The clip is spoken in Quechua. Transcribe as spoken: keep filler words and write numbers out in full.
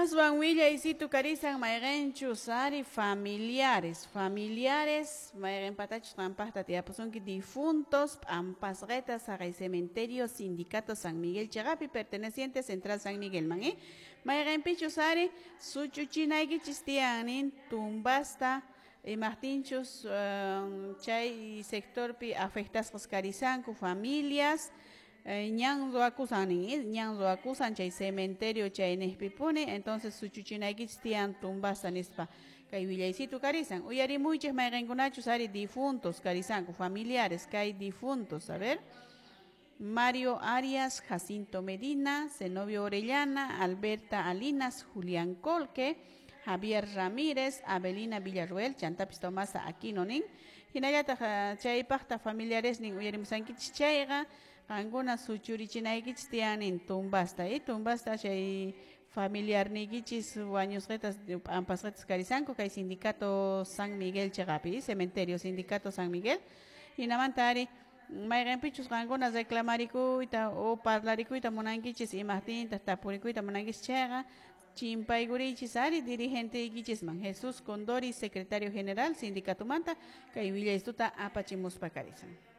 Aswan willaysitu karisan mayqinchus ari familiares, familiares mayqinpatachus qampaqta tiyapusunki difuntos p'ampasqita saqay cementerio Sindicato San Miguel chiqapi perteneciente Central San Miguelman, eh? Mayqinpichus ari suchuchinaykichis tiyan nin tumbasta imaqtinchus um, chay sectorpi afectasqas karisanku familias ñan ruwakusan nin, ñan ruwakusan chay cementerio chay niqpipuni, entonces suchuchinaykichis tiyan tumbasta nispa kay willaysitu karisan uyarimuychik mayqinkunachus ari difuntos karisanku familiares kay difuntos. A ver: Mario Arias, Jacinto Medina, Zenobio Orellana, Alberta Alinas, Julián Colque, Javier Ramírez, Abelina Villarruel, chantapis Tomasa Aquino nin. Hinallataq chaypaqta familiares nin uyarimusankichis chayqa qankuna suchurichinaykichis tiyan nin tumbasta, eh, tumbasta chay familiarniykichis wañusqitas p'ampasqitas karisanku kay Sindicato San Miguel chiqapi, cementerio Sindicato San Miguel. Hinamanta ari mayqinpichus qankuna reclamarikuyta o parlarikuyta munankichis imaqtintaq tapurikuyta munankichis chayqa chimpaykurichis ari dirigenteyykichisman Jesús Condori, secretario general sindicatomanta kay willaystuta apachimuspa karisan.